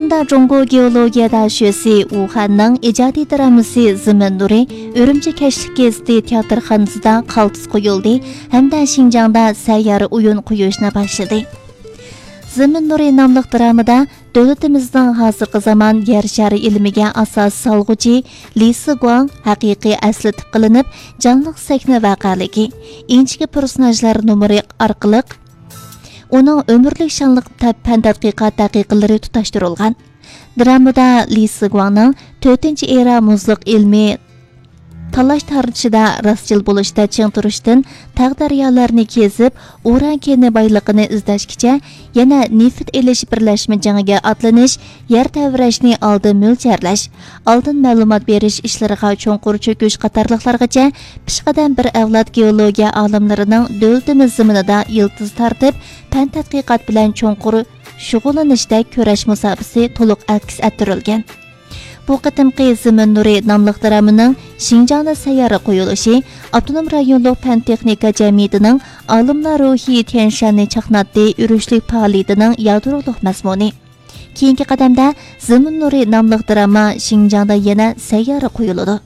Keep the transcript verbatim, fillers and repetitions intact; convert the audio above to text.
جۇڭگو گېئولوگىيە داشۆسى ۋۇخەننىڭ ئىجادىي درامىسى زېمىن نۇرى ئۈرۈمچى كەچلىك گېزىتى تىياتىرخانىسىدا قالتىس قويۇلدى ھەمدە شىنجاڭدا سەييارە ئويۇن قويۇشنى باشلىدى. زېمىن نۇرى ناملىق درامىدا دۆلىتىمىزنىڭ ھازىرقى زامان يەر شارى ئىلمىگە ئاساس سالغۇچى لى سىگۇاڭ ھەقىقىي ئەسلى تىپقا ئېلىنىپ، جانلىق سەھنە ۋەقەلىكى، ئىنچىكە پېرسوناژلار نومۇرى ئارقىلىق ئۇنىڭ ئۆمۈرلۈك شانلىق تە-، پەن تەتقىقات دەقىقىلىرى تۇتاشتۇرۇلغان. درامىدا لى سىگۇاڭنىڭ تۆتىنچى ئېرا مۇزلۇق ئىلمىي تالاش-تارتىشىدا راستچىل بولۇشتا چىڭ تۇرۇشتىن، تاغ-دەريالارنى كېزىپ، ئۇران كېنى بايلىقىنى ئىزدەشكىچە، يەنە نېفىت ئېلىش بىرلەشمە جېڭىگە ئاتلىنىش، يەر تەۋرەشنى ئالدىن مۆلچەرلەش، ئالدىن مەلۇمات بېرىش ئىشلىرىغا چوڭقۇر چۆكۈش قاتارلىقلارغىچە پېشقەدەم بىر ئەۋلاد گېئولوگىيە ئالىملىرىنىڭ دۆلىتىمىز زېمىنىدا يىلتىز تارتىپ، پەن تەتقىقات بىلەن چوڭقۇر شۇغۇللىنىشتەك كۈرەش مۇساپىسى تولۇق ئەكس ئەتتۈرۈلگەن. بۇ قېتىمقى زېمىن نۇرى ناملىق درامىنىڭ شىنجاڭدا سەييارە قويۇلۇشى ئاپتونوم رايونلۇق پەن تېخنىكا جەمئىيىتىنىڭ ئالىملار روھى تيەنشەننى چاقناتتى ئۈرۈشلۈك پائالىيىتىنىڭ يادرولۇق مەزمۇنى. كېيىنكى قەدەمدە زېمىن نۇرى ناملىق دراما شىنجاڭدا يەنە سەييارە قويۇلىدۇ.